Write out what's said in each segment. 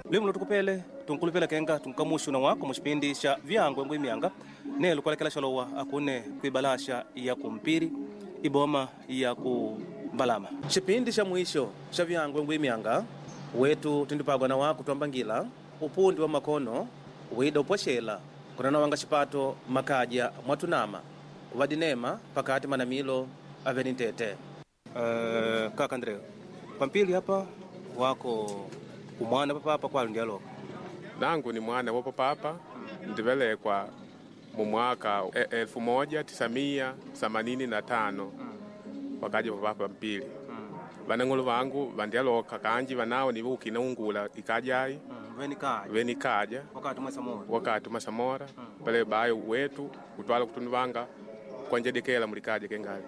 Lwimu lutukupele tunkulupela kenga tunkamushu na wako mushipindi sha vyangwe ngwi myanga nelo kwalekela shalowa akune kuibalasha ya kumpiri iboma ya kumbalama. Chipindi cha mwisho cha vyangwe ngwi myanga wetu tindipagwa na wako twambangila upundi wa makono wida upwashela kunana wanga chipato makaja mwatunama vadinema pakati manamilo aveni ntete. Kaka Andreo pampili hapa wako umwana papapa kwali ndialoka. Nangu ni mwana wa papapa ndivelekwa mu mwaka 1985 wakaja papapa mpili. Vanang'olo vangu vandialoka kanji vanao nivo ungula ikajai venikaja wakati mwasamora wakati masamora pale bayo wetu kutwala kutunuvanga kwanjedekela mulikaja kengali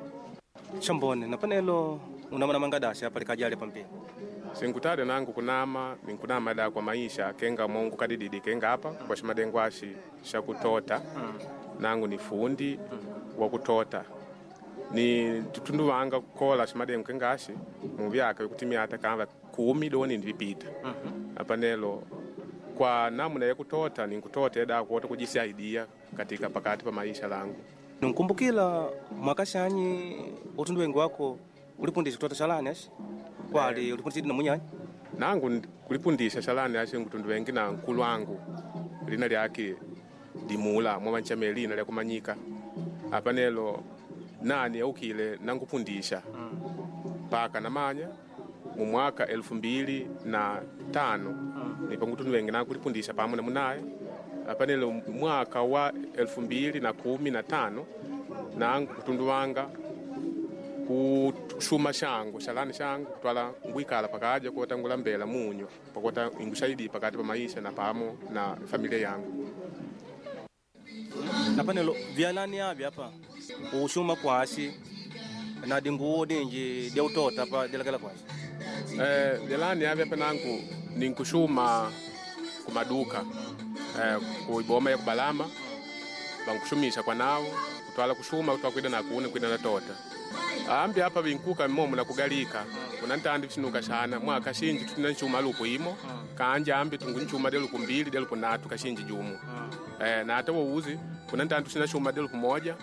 chambone na panelo unamana mangadasha hapa likajali pampili. Sinkutale nangu kunama ninkunama da kwa maisha kenga mongu kadididi kenga hapa kwa shimadengo ashi shakutota. Nangu ni fundi wa kutota ni tutundu wanga kukola shimadengo kenga ashi muvyaka vikutimia hata kamba 10 doni ndipita. Apanelo kwa namna ya kutota ninkutota eda kuota kujisaidia katika pakati pa maisha langu. Nkumbukila mwaka shanyi utundu wengi wako ulipundisha kutota shalani ashi kwali ulipundisha na munyanyi? Nangu kulipundisha shalani ashi ngutundu wengi na nkulu wangu lina lyake dimula mwamanchame lina lya kumanyika apanelo nani aukile nangupundisha paka namanya mu mwaka 2005 nipo ngutundu wengi nangu kulipundisha pamwe na munaye apanelo mwaka wa 2015 nangu kutundu wanga kushuma shangu shalani shangu kutwala ngwikala pakaja kota ngulambela munyo pakota ingushaidi pakati pa maisha na pamo na familia yangu. Na panelo vyalani avya hapa ushuma kwashi na dinguo dinji dya utota pa dilakela kwashi. Vyalani avya pa nangu ninkushuma kumaduka kuiboma ya kubalama bankushumisha kwa nao kutwala kushuma kutwala kwida na kune kwida na tota. Ambi hapa vinkuka momo na kugalika kuna ntandi visinuka shana mwaka shinji tutina nchuma lupu imo kanja ambi tungu nchuma delupu 2 delupu 3 kashinji jumu. Na hata wouzi kuna ntandi tusina chuma delupu 1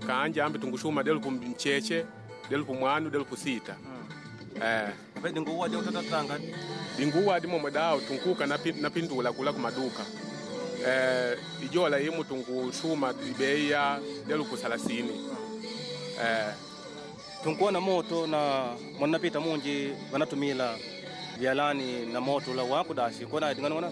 kanja ambi tungu chuma delupu mcheche delupu 1 delupu 6. Dinguwa de utata tanga dinguwa di momo dao tunkuka na pindula kula kumaduka. Ijola imu tungu chuma bei ya delupu 30. Tunkuwa na moto na mwanapita munji wanatumila vyalani na moto la wako dashi kona ingana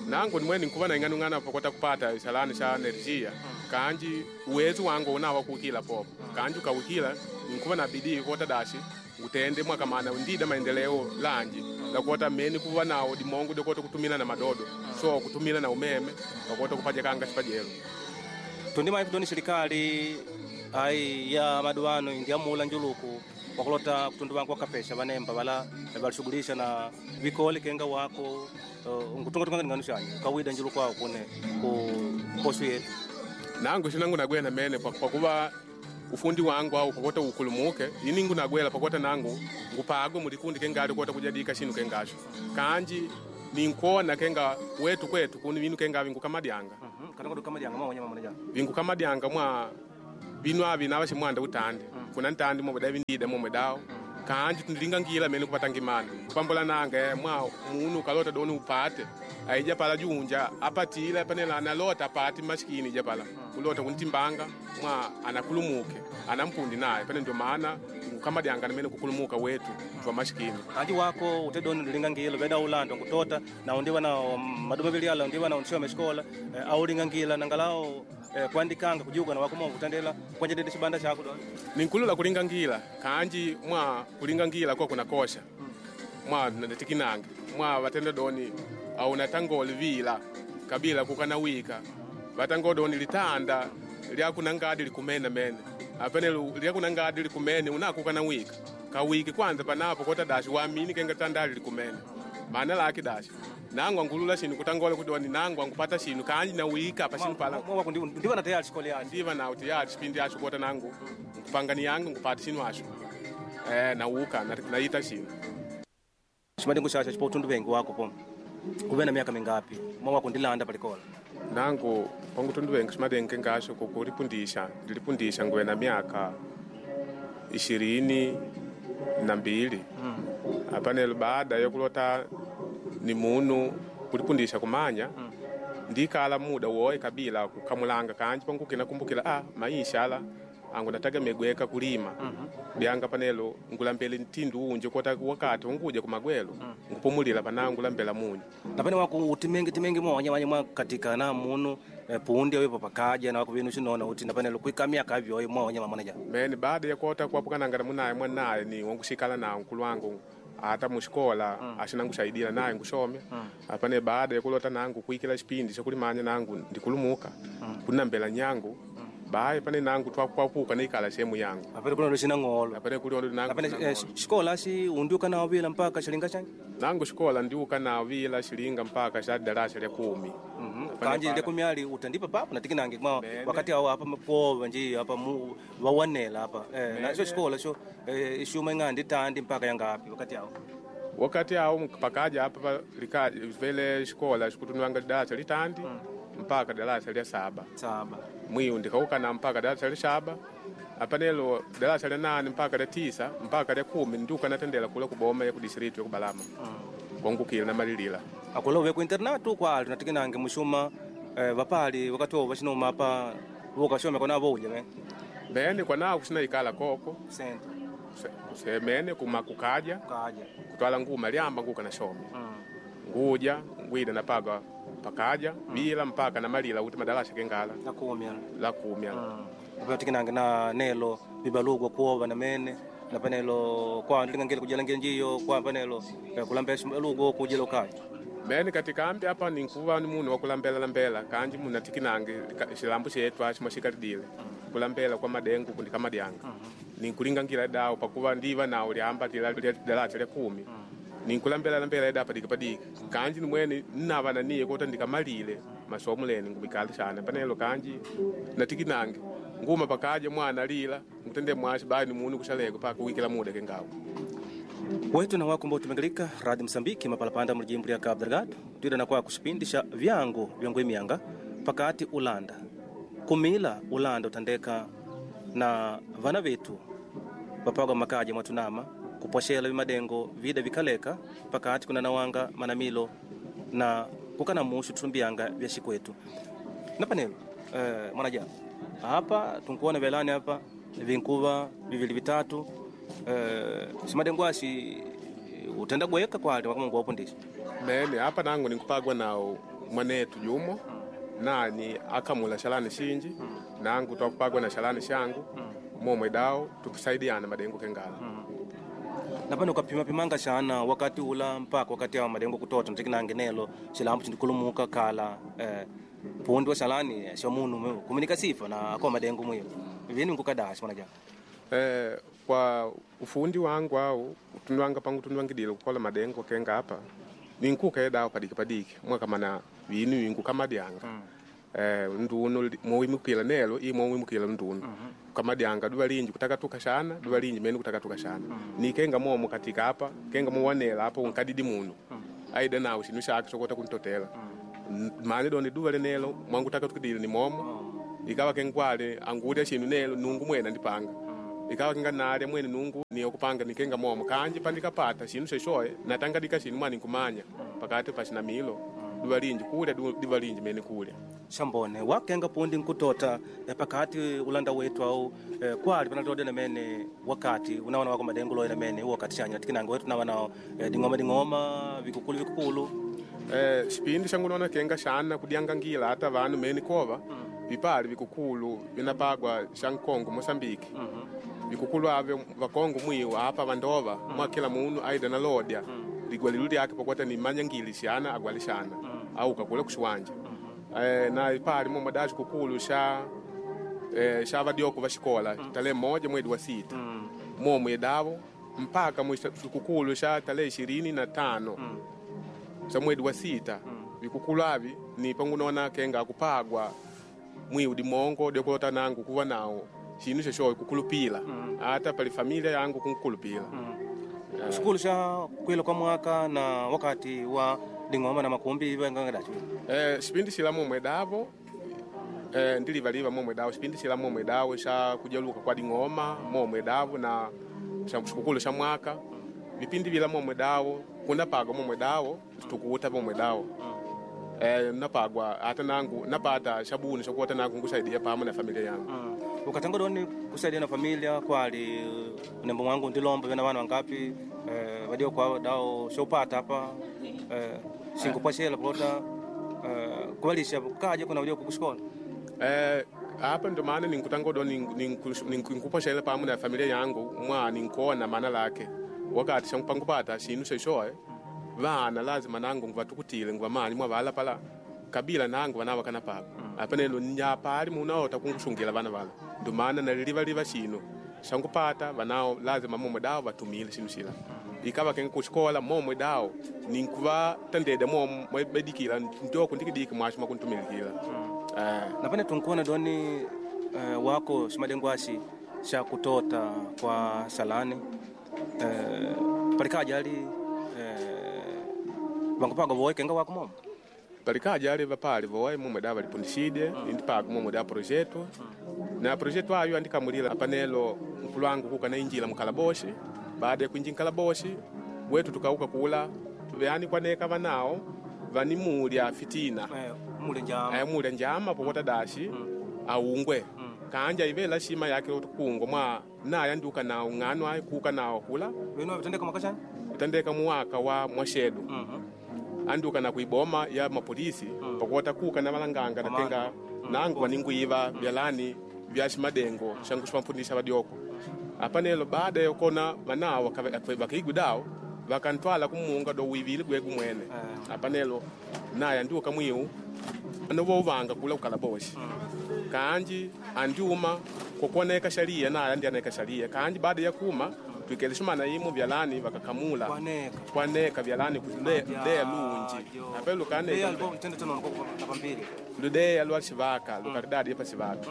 nangu nimwe nikuva na ingana ngana pokota kupata shalani sha energia kanji uwezo wangu unawa kukila popo kanji kawukila nikuva na bidii kota dashi ngutende mwaka mana ndida maendeleo lanji la kota meni kuva nao dimongo dokota kutumila na madodo so kutumila na umeme pakota kupaja kanga sipajelo tundima ifidoni serikali ai ya maduano india mula njuluku wakulota kutundu wangu wakapesha vanemba vala valishughulisha na vikoli kenga wako ngutunga tunga nganu shanyu kawida njuluku wao kune ku posho yetu. Nangu shinangu nagwena mene kwa kuva ufundi wangu au pakota ukulumuke iningu nagwela pakota nangu ngupago mulikundi kengali kota kujadika shinu kengasho kanji ninkona kenga wetu kwetu kuni vinu kenga vingu kamadyanga. Kanako kamadyanga mwa wanyama mwana vingu kamadyanga mwa binu avi nava shimwanda utande kuna ntandi momwe davi ndida momwe dao kanji tundilinga ngila mene kupata ngimana kupambola nange mwa munu kalota doni upate aija pala junja apatila panela analota apati maskini ija pala kulota kuntimbanga mwa anakulumuke anampundi naye pane ndio maana kamadyanga mene kukulumuka wetu twa maskini kanji wako utedoni ndilinga ngila veda ulando ngutota na undiwa na maduma viliala undiwa na unshiwa meshkola aulinga ngila nangalao kuandikanga kujuga na wakumo kutandela kwanje dede shibanda chako do ninkulula kulinga ngila kanji mwa kulinga ngila kwa kuna kosha mwa natikinange mwa batenda doni au natangoli vila kabila kukana wika batango doni litanda lya kunangadi likumena mene apene lya kunangadi likumene unakukana wika kawiki kwanza panapo kota dashi wamini kenga tandali likumene maana laki dashi nangu angulula shinu kutangola kudoni nangu angupata shinu kanji na wika pa shinu pala ndiwa na tayari shikoli yacho ndiwa na tayari shipindi yacho kota nangu ngupangani yangu ngupata shinu asho na uka na ita shinu shimadingu shasha chipo utundu wengi wako po Kuve na miaka mingapi mwa kundilanda palikola? Nangu pangutunduwenga ximadenke ngasho kukulipundisha ndilipundisha nguve na miaka 22. Apanelo baada yokulota ni munu kulipundisha kumanya ndikala muda woye kabila kukamulanga kanji pangukina kumbukila maisha ala angu natagamegweka kulima. Byanga panelo ngulambele ntindu unje kota wakati unguja kumagwelo ngupumulila panangu ngulambela munyu. Napene wako utimengi timengi mwa wanya mwa katika na munu pundi awepo pakaja na wako vinu shinona uti napanelo kuika miaka avyo mwa wanya manaja. Mene baada ya kota kuapukananga na munaye mwanaye ni wangushikala na nkulu wangu ata mushikola ashinangushaidila naye ngushomya. Apane baada ya kulota nangu kuikila xipindi xakulimanya nangu ndikulumuka kunambela nyangu. Bae pane nangu twakwapuka nikala sehemu yangu. Apane kuna lushina ngolo. Apane kuli ondo nangu. Apane shikola shi undiuka na vila mpaka shilinga changi? Nangu shikola ndiuka na vila shilinga mpaka sha darasa lya 10. Kanji lya 10 ali utandipa papo na tikinange kwa wakati hao hapa mkoa nji hapa mu wawanela hapa. Na sho shikola sho shuma ngandi tandi mpaka yangapi wakati hao? Wakati hao pakaja hapa lika vele shikola shikutunwanga darasa litandi mpaka darasa lya 7. 7. Mwiu ndikauka na mpaka darasa lya 7. Apanelo darasa lya 8 mpaka lya 9 mpaka lya 10 ndiuka natendela kula kuboma ya kudistrict ya kubalama. Kongukila na malilila. Akola uwe ku internatu kwa ali natikinange mushuma vapali wakati wo vashinoma apa vokashome kona voja me. Bene kwa nao kusina ikala koko. Sente. Kusemene kumakukaja. Kukaja. Kutwala nguma lyamba nguka na shome. Nguja ngwida napaga pakaja bila mpaka na malila kuti madarasa kengala. La 10. La 10. Apatikinange na nelo bibalugwa kuova na mene na panelo kwa ndilingangile kujalangila njiyo kwa panelo kulambela lugo kujela ukaja. Mene katika ambi hapa ni nkuva ni munu wakulambela lambela kanji muna tikinange xilambu xetu axi mwaxikalidile kulambela kwa madengu kundi kamadyanga. Ninkulingangila dawo pakuva ndiva nawo lyamba lya darasa lya 10. Ninkulambela lambela eda padika padika. Kanji nimwene nnava naniye kota ndikamalile masomo leni ngumikala sana panelo kanji natikinange nguma pakaja mwana lila ngutende mwashi bali ni munu kushaleko paka wikila muda kengawo. Wetu na wako ambao tumengalika Radio Msambiki mapalapanda mu jimbo lya Cabo Delgado twida na kwa kushipindisha vyangu vyangu mianga pakati Ulanda kumila Ulanda utandeka na vana vetu vapagwa makaja mwatunama kuposhela vimadengo vida vikaleka pakati kuna nawanga manamilo na kukana mushu tumbianga vya shikwetu na panelo mwanaja hapa tunkuona velani hapa vinkuva vivili vitatu simadengo ashi utenda gweka kwali wakamungu wapundisha. Mene hapa nangu nikupagwa nao mwanetu jumo nani akamula shalani shinji nangu twakupagwa na shalani shangu momwe dao tukusaidiana madengo kengala. Napano ukapima pimanga shana wakati ula mpaka wakati wa madengo kutota ntikinange nelo shilambu chindikulumuka kala pundi wa shalani shomunu kuminika sifa na kwa madengo mwiyo vini nkukadashi mwanaja. Kwa ufundi wangu au tunwanga pangu tunwangidile kukola madengo kenga hapa ninkuka edawo padiki padiki mwakamana vinu wingu kamadyanga. Ndunu mowimukila nelo i mowimukila ndunu kamadyanga duva linji kutaka tukashana duva linji mene kutaka tukashana nikenga momo katika hapa kenga mowanela hapo nkadidi munu aida nawo shinu shake sokota kuntotela mane donde duva lenelo mwangu taka tukidile ni momo ikawa kengwale angulya shinu nelo nungu mwena ndipanga ikawa kinga nalya mwene nungu niyo kupanga nikenga momo kanji pandikapata shinu sheshoye natangadika shinu mwani nkumanya pakati pashina milo duva linji kulya duva linji mene kulya. Shambone wakenga pundi nkutota pakati Ulanda wetu au kwali panatode na mene wakati unaona wako madengo loyo na mene wakati chanya tikinange wetu nawa nao dingoma dingoma vikukulu vikukulu. Xipindi xangu kenga xana kudyanga ngila hata vanu mene kova vipali vikukulu vinapagwa xa Nkongo Mosambiki. Vikukulu ave vakongo mwiwa apa vandova mwa kila munu aida na lodya ligwalilu lyake pakwata ni manyangili xana agwali xana au kakula kuxiwanja. Na ipali momwe da xikukulu xa xa vadioko va xikola tarehe 1 mwezi wa 6 momwe davo mpaka xikukulu xa tarehe 25 xa mwezi wa 6 vikukulu avi ni pangunona kenga kupagwa mwiu dimongo dyokulota nangu kuva nawo xinu xexo kukulupila ata pali familia yangu kunkulupila. Shukulu sha kwila kwa mwaka na wakati wa ding'oma na makumbi vangangadacho. Sipindi sila momwe davo ndilivaliva momwe davo sipindi sila momwe davo sha kujaluka kwa ding'oma momwe davo na sha sikukulu sha mwaka vipindi vila momwe davo kunapagwa momwe davo tukuuta momwe davo napagwa ata nangu napata shabuni shakuota nangu nkusaidia pamo na familia yangu. Ukatanga doni kusaidia na familia kwali nembo mwangu ndilomba vena vana wangapi vadio kwa dao shopata hapa sinkupwashela kulota kuvalisha kaje kuna vadio kukushikola. Apa ndo maana ninkutangodo ninkuposhela pamo na familia yangu mwa ninkona maana lake wakati shampangupata shinu sheshoe vana lazima nangu nguvatukutile nguvamani mwavala pala kabila nangu vana vakana pako apa nelo nyapali munaota kungushungila vana vala ndo maana nalilivaliva shinu shangupata vanao lazima momwe dawo vatumile shinu shila ikava kenga kuxikola momwe dawo ninkuvatandede momo mwebedikila ntoko ndikidiki mwasho mwakuntumilikila. Napane tunkuona doni wako shimadengo ashi sha kutota kwa salani palikaja ali vangupaga voe kenga wako momo. Palikaja ali vapali voe momwe dawo valipundishide indipaga momwe dawo projeto na projeto ayo andikamulila apanelo nkulu wangu kuka nainjila mukalaboshi. Baada ya kuinjila nkalaboshi wetu tukauka kula yani kwaneka vanao vanimulya fitina. Mule njama. Mulya njama pokota dashi aungwe kanja ivela shima yake kungwa mwa naye andiuka nawo ng'ano ayi kuka nawo kula. Vino vitendeka mwaka chani? Itandeka muwaka wa mwashedu andiuka na kuiboma ya mapolisi pokota kuka na valanganga natenga nangu vaninguiva vyalani vya shimadengo shangu shivamfundisha vadyoko apanelo baada yokona vanawo vakaigwi dawo vakantwala kumunga do wivili gwegu mwene apanelo naye andiuka mwiu anovouvanga kula ukalaboshi kanji andiuma kokoneka sharia naye andi aneka sharia kanji baada ya kuma twikele shumana imo vyalani vakakamula Kwaneka. kwaneka vyalani ludeya lunji ape lukaneka Pambili. ludeya lwa xivaka lukaridadi pa xivaka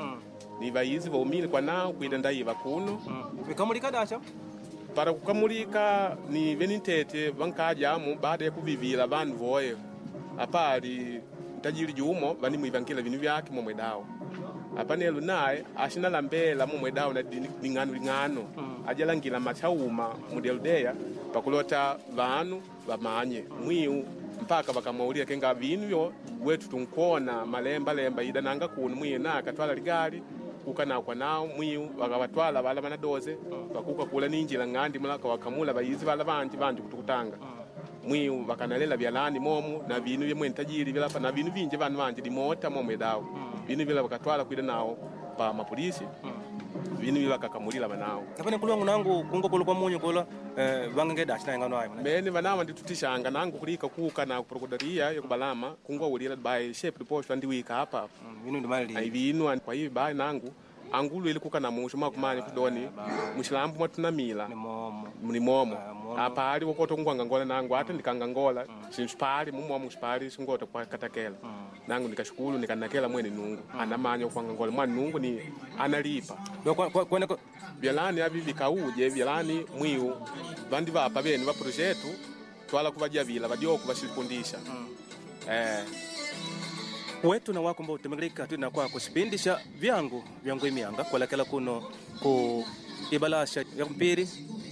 ni vayizi vaumile kwanao kuita ndaiva kuno. Vikamulika dasha. Para kukamulika ni venintete vankajamu baada ya kuvivila vandu voye apali ntajili jumo vanimwivangila vinu vyake momwe dawo apanelo naye axinalambela momwe dawo na ling'ano ling'ano ajalangila machauma mudeludeya pakulota vanu vamanye mwiu mpaka vakamwaulila kenga vinu vyo wetu tunkona malembalemba ida nanga kuno mwiu naye akatwala ligali kuka nawo kwa nawo mwiu vakavatwala vala vanadoze vakuka kula ninjila ng'andi mula wakamula vayizi vala vanji vanji kutukutanga mwiu vakanalela vyalani momu na vinu vyemwe ntajiri vilapa na vinu vinji vanu vanji limota momwe dawo vinu vila vakatwala kuida nawo pa mapolisi vinu vila vakakamulila vanawo. Napane nkulu wangu nangu kungo kula kwa munyu kula vangange dasha na ngano ayo. Mene vanawa nditutishanga nangu kulika kuka na kuprokudaria yokubalama kungwaulila bayi shepu liposho andiwika apa. Vinu ndi mali. Aivinwa kwa hivi bayi nangu angulu ili kuka na musho mwakumanya kudoni mushilambu mwatunamila Ni momo. ni momo. Momo. Apali wokoto kungwangangola nangu ata ndikangangola sinshipali mumomo shipali singota kwakatakela nangu nikashukulu nikanakela mwene nungu anamanya kwangangola mwana nungu ni analipa. Do kwa kwa kwa vyalani avi vikauje vyalani mwiu vandi vapa vene va projeto twala kuvajavila vadyoku vashilipundisha wetu na wako mbao tumegrika tuna kwa kusipindisha vyangu vyangu imianga kuelekela kuno ku ibalasha ya mpiri.